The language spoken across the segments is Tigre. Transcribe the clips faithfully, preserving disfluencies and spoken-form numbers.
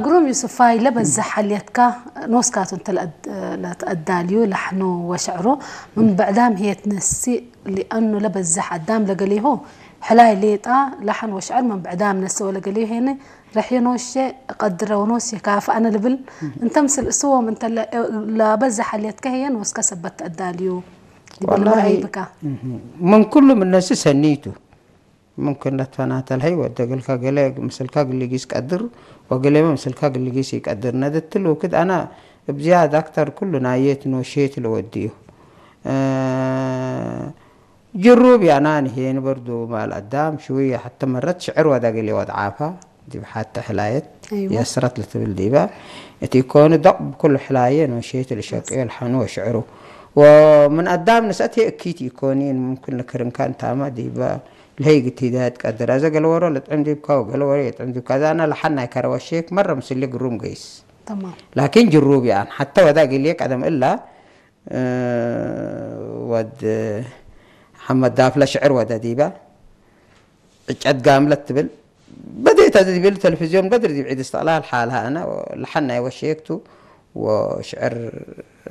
ግሩም ዩስፋይ፣ ለበዝሕ ሐልየትካ ኖስካቱ እንተ ለአድ-፣ ለትአዳልዩ ለሐኑ ወሸዕሩ ምን ብዕዳም ህዬ ትነስእ፣ ሊአኑ ለበዝሕ አዳም ለገሌሁ ሕላይ ሌጣ ለሐን ወሸዕር ምን ብዕዳም ነስእ ወለገሌሁ ሄነ ረሕየ ኖሼ እቀድረ ወኖስ የካፍአነ ልብል። እንተ ምስል እስዎም እንተ ለ-፣ ለበዝሕ ሐልየትካ ህዬ ኖስከ ሰበት ተአዳልዩ ዲብ ወላሂ፣ ለመርአይ ብካ። ምን ኩሉ ምን ነስእ ሰኒቱ። ምምክን ለትፈናተ ለሀይ ወደ እግልከ ገሌ ምስልከ እግል ሊጊስ ቀድር፣ ወገሌመ ምስልከ እግል ሊጊስ ኢቀድር። ነድትል ወክድ አና እብ ዝያድ አክተር ኩሉ ናየት ኖሼት ለወድዩ። እ፣ ጅሩብ ያናን ሄን በርዱ ማል አዳም ሽውየ ሐተ መረት ሽዕር ወደ እግል ወድዓፋ ዲብ ሐተ ሕላየት አይዋ። የስረት ለትብል ዲበ እቲ ኢኮኑ ደቅ ብኩሉ ሕላየ ኖሼት ለሸቅዮ ለሐኑ ወሽዕሩ። ወምን አዳም ንስአት ህዬ እኪት ኢኮኒን ምምክን ለክርንካ እንታመ ዲበ ለህይ ግቲዳት ቀድር። አዘ ገለ ወሮ ለጥዕም ዲብካ ወገለ ወሮ የጥዕም ዲብካ። አዘ አነ ለሐናይ ከረ ወሼክ መረ ምስሌ ግሩም ገይስ። ተማም። ላኪን ጅሩብ ይአን ሐተ ወዳ እግልዬ ቀደም እላ፣ እ፣ ወድ ሐመድ ዳፍለ ሽዕር ወደ ዲበ ዕጨት ጋምለት ትብል በዴት አዘ ዲብል ተለፊዝዮን በድር ዲብ ዒድ እስትቅላል ሓልሃ አነ ለሐናይ ወሼክቱ ወሽዕር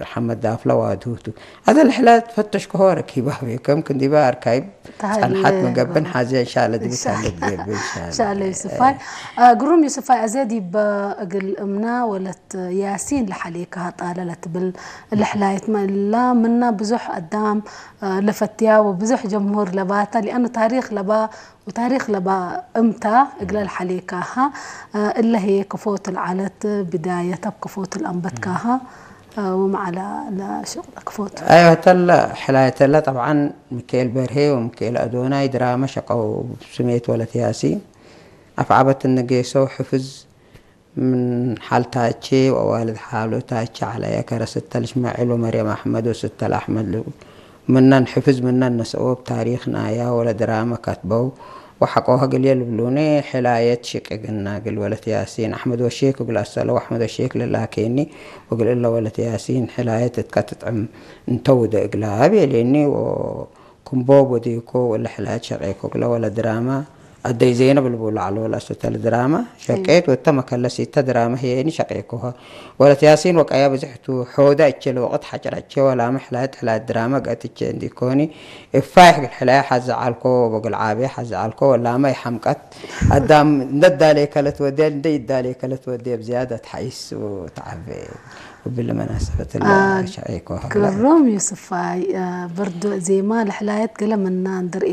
ሐመድ ዳፍለ ዋድሁቱ። አዘ ለሕለ ትፈተሽከሆ ረኪባቤ፣ ከም ክንዲባ አርካይብ ተሀሌ ጸንሐት ምን ገብን ጎበዝ። ሐዜ እንሻለ ዲብ እንሻ-፣ ተሀሌ ዲብ እንሻለ። እንሻለ ዩስፋይ። አ፣ ግሩም ዩስፋይ፣ አዜ ዲብ እግል እምና ወለት ያሲን ለሐሌከ ጣለ ለትብል ለሕላየት መላ ምና ብዙሕ አዳም፣ አ፣ ለፈትያ ወብዙሕ ጀምሁር ለባታ፣ ሊአኑ ታሪክ ለባ ወታሪክ ለባ እምታ እግለ ለሐሌካሃ፣ አ፣ እለ ህዬ ክፎቱ ለዐለት ብዳየት እብ ክፎቱ ለአንበትካሃ፣ አ፣ ወመዓላ ለሽቅለ ክፎቱ። አይወ፣ ተለ ሕላየተለ ጠብዓን ሚካኤል በርሄ ወሚካኤል አዶናይ ድራመ ሸቀው ስሜት ወለት ያሲን አፍዓበት እንጌሰው ሕፍዝ ምን ሐልታቼ ወዋልድ ሓሎታቼ ዐለየ ከረ ስተ ለእሽማዒል ወመርየም አሕመድ ወስተ ለአሕመድ ልብል ምነን ሕፍዝ ምነን ነስአው እብ ታሪክ ናያ ወለድራመ ከትበው ወሐቆሀ እግልዬ ልብሉኒ። ሕላየት ሽቅግና እግል ወለት ያሲን አሕመድ ወሼክ እግል አሰለው አሕመድ ወሼክ ልላኬኒ ወእግል እለ ወለት ያሲን ሕላየት እትከ ትጥዕም እንተ ውደ እግላ ቤሌኒ ወ ክምቦብ ወዴኮ ወለ ሕላየት ሸቄኮ እግለ ወለ ድራመ አደይ ዜነብ ልቡሉ ዐሎ ለአሰተለ ድራመ ሸቄት ወተ መከለሲተ ድራመ ህዬኒ ሸቄኮሀ። ወለት ያሲን ወቀያ ብዝሕቱ ሖደ እቼ ለወቅት ሐጭረቼ ወላመ ሕላየት ሕላየት ድራመ ገአት እቼ እንዲኮኒ እፋይሕ እግል ሕላየ ሐዘ ዐልኮ ወእግል ዓብየ ሐዘ ዐልኮ ወላመ ይሐምቀት አዳም እንደ ዳሌ ከለት ወዴ እንደ ይዳሌ ከለት ወዴ ብዝያደት ሐይስ ወተዓቤ። ወብለ መናሰበት አ፣ ሸቄኮሀ። ግሩም ዩስፋይ፣ አ፣ ብርዱ ዜማ ለሕላየት ገለ ምና እንድርኤ